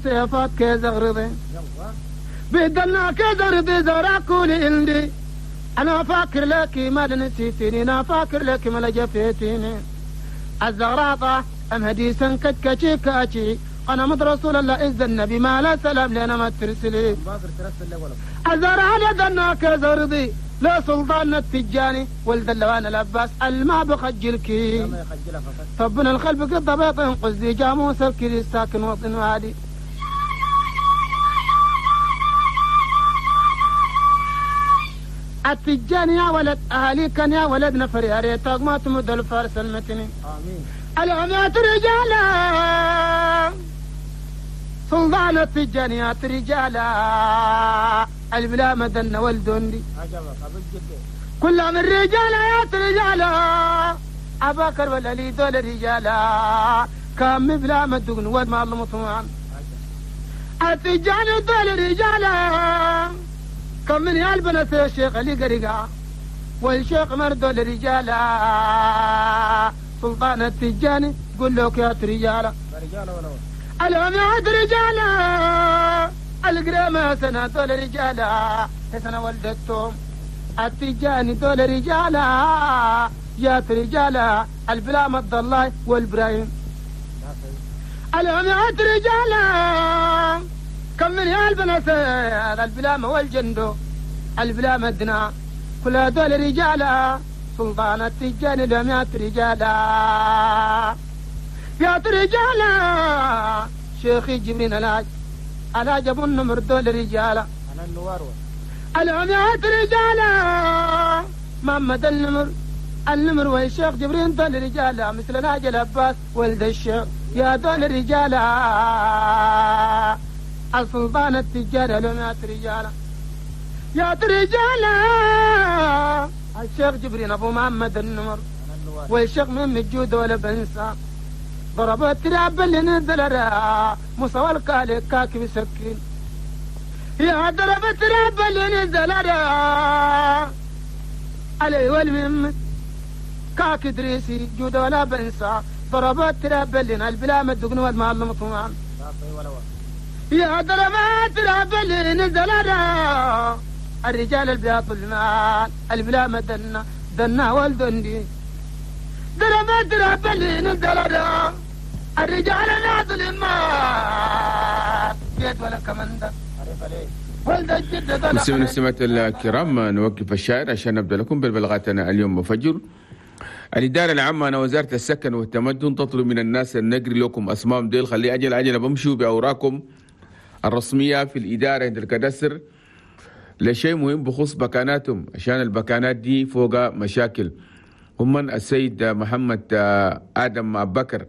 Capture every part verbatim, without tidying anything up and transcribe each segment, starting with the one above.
سيفات كيزغرضي بدلنا كيزغرضي زراكولي عندي أنا فاكر لك ما نسيتني أنا فاكر لك ما جفيتني الزغراطة أم هديسا كتكشي كاتشي أنا مد رسول الله إذ النبي ما لا سلام لنا ما ترسلي الزرع لدنا كزرضي لا سلطان التجاني ولد اللوان العباس الما بخجلك طبنا الخلف قد بيط قصدي جاموس الكري ساكن وطن وادي التجاني يا ولد أهلي كان يا ولد نفر يا ريتك ما تمد الفارس المتني آمين العميات رجالا سلطان التجانيات رجالا البلا مدن والدندي كل من رجالات رجالا أباكر والعلي دول رجالا كم بلا مدن وما المطمعن التجاني دول رجالا كم من يالبنس الشيخ علي قرقع والشيخ مردول رجالا سلطان التجاني قل لك يا رجالا العماد رجالا القرامة سنة دول رجالا سنة ولدتهم التجاني دول رجالا يا رجالا البلا مد الله والبراهيم العماد رجالا كم من يالبنس البلامة والجندو البلامة دنا كل دول رجالا سلطان التجاني لم رجالا يا رجالا شيخي جبرين الهاج الهاج ابو النمر دول رجالا انا النوار العميات رجالا محمد النمر النمر والشيخ جبرين دول رجالا مثل الهاج العباس ولد الشيخ يا دول رجالا السلطان التجاري العميات رجالا يا رجالا الشيخ جبرين ابو محمد النمر والشيخ من الجود ولا بنسى ضرب التراب اللي نزل مصوى الكالي كاكب سكين يا ضرب التراب اللي نزل علي والمم كاك دريسي جود ولا بنسى ضرب التراب اللي البلا مدقن والمال مطمعن يا ضرب التراب اللي نزل الرجال البياض المال البلا مدنا دنا والدندي ضرب التراب اللي نزل الرجال ناظل المال جيت ولا كمندة مستمعينا المستمعات الكرام، نوقف الشاعر عشان نبدا لكم بالبلاغاتنا اليوم فجر. الإدارة العامة أنا وزارة السكن والتمدن تطلب من الناس النقري لكم أسمام ديل خلي أجل أجل بمشوا بأوراقكم الرسمية في الإدارة عند الكدسر لشيء مهم بخصوص بكاناتهم، عشان البكانات دي فوق مشاكل. هم السيد محمد آدم أبو بكر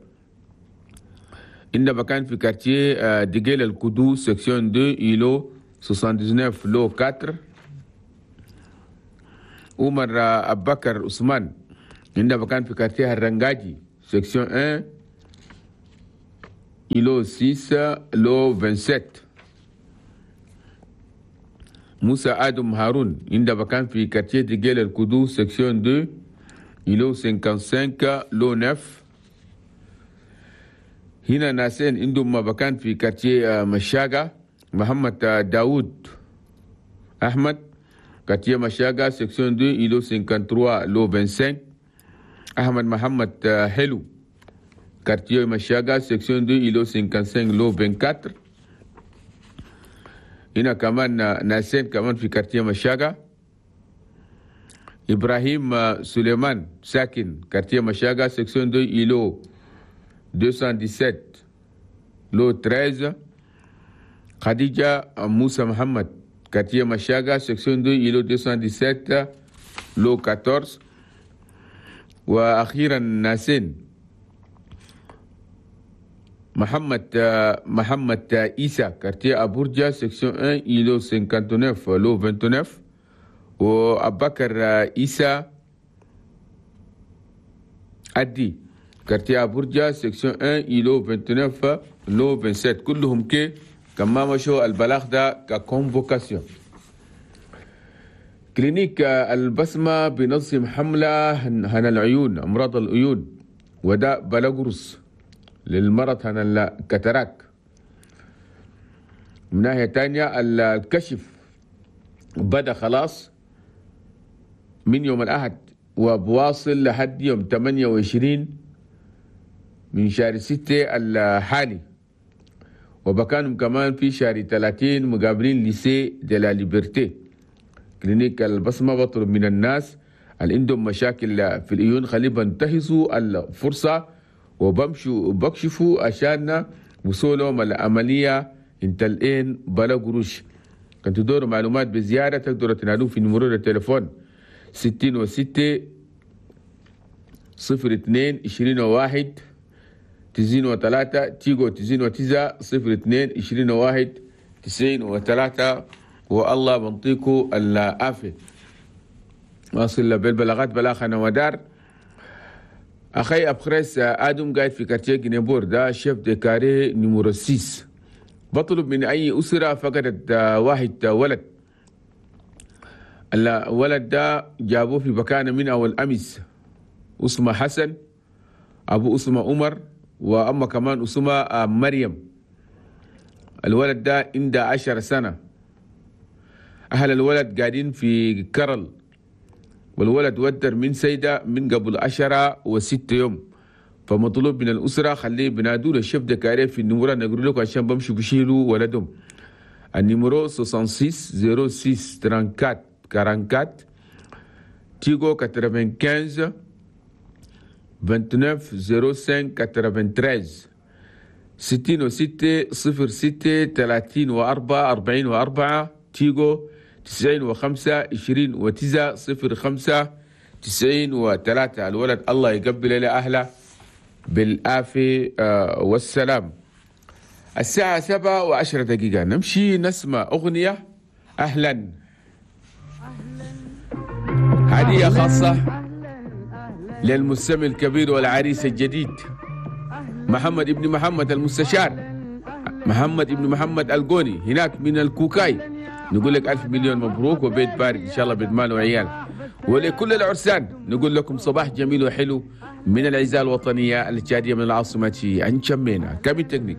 إن بكان في quartier ديجيل الكدو section اثنين îlot تسعة وسبعين lot أربعة. عمر أبو بكر عثمان إن بكان في quartier الرنجاجي section واحد îlot ستة lot سبعة وعشرين. موسى آدم هارون إن بكان في quartier ديجيل الكدو section اثنين îlot خمسة وخمسين lot تسعة. هنا ناسين عندهم مكان في quartier مشاقة محمد داود أحمد quartier مشاقة section اثنين îlot ثلاثة وخمسين lot خمسة وعشرين. أحمد محمد حلو quartier مشاقة section اثنين îlot خمسة وخمسين lot أربعة وعشرين. هنا كمان ناسين كمان في quartier مشاقة إبراهيم سليمان ساكن quartier مشاقة section اثنين îlot مئتين وسبعة عشر lot ثلاثة عشر. خديجة موسى محمد quartier مشاقة section اثنين îlot مئتين وسبعة عشر lot أربعة عشر. وأخيرا ناسين محمد محمد إيسا quartier أبورجا section واحد îlot تسعة وخمسين lot تسعة وعشرين. وأبكر إيسا أدي quartier أبورجا section واحد îlot تسعة وعشرين lot سبعة وعشرين. كلهم كي كما مشوا البلاغ ده ك convocation. clinique البسمة بنظم حملة هنا العيون أمراض العيون وداء بلغرس للمرض هنا ال cataracte. من ناحية تانية الكشف بدأ خلاص من يوم الأحد وبواصل لحد يوم ثمانية وعشرين من شهر ستة الحالي، وبكانهم كمان في شهر ثلاثين مقابلين lycée de la Liberté. clinique البصمة بطلب من الناس اللي عندهم مشاكل في العيون خليه بنتهزوا الفرصة وبمشوا بكشفوا عشان وصولهم العملية انت الآن بلا قروش. كنت تدوروا معلومات بزيادة تقدروا تنادوا في numéro التليفون ستين وستة صفر اثنين عشرين وواحد تسعين وثلاثة تيجو تسعين وتسعة صفر اثنين عشرين وواحد تسعين وثلاثة. والله بنطيكو العافية. واصل بالبلاغات بلاغ ودار أخي أبخريس آدم قاعد في quartier جنيبور ده chef de carré numéro ستة. بطلب من أي أسرة فقدت واحد ولد، الولد ده جابوه في مكان من أول أمس، اسمه حسن أبو اسمه عمر وأما كمان اسمه مريم. الولد ده عنده عشر سنة. أهل الولد قاعدين في كرل، والولد ودر من سيدة من قبل عشرة وست يوم. فمطلوب من الأسرة خليه بنادوا له ال chef de carré في ال numéro نقول لكم عشان بمشوا بشيلوا ولدهم. ال numéro ستة وستين صفر ستة أربعة وأربعين أربعة وأربعين تيغو خمسة وتسعين تسعة وعشرين صفر خمسة ثلاثة وثمانين ستين وستة صفر ستة ثلاثين وأربعة أربعين وأربعة تيغو تسعين وخمسة عشرين وتسعة صفر خمسة تسعين وثلاثة. الولد الله يقبل إلى أهله بالعافية والسلام. الساعة سبعة وعشرة دقيقة نمشي نسمع أغنية أهلا، هدية خاصة للمستمع الكبير والعريس الجديد محمد ابن محمد المستشار محمد ابن محمد القوني هناك من الكوكاي. نقول لك ألف مليون مبروك وبيت بارك إن شاء الله، بيت مال وعيال. ولكل العرسان نقول لكم صباح جميل وحلو من العزاء الوطنية التشادية من العاصمة أنشمينا. كابين تكنيك.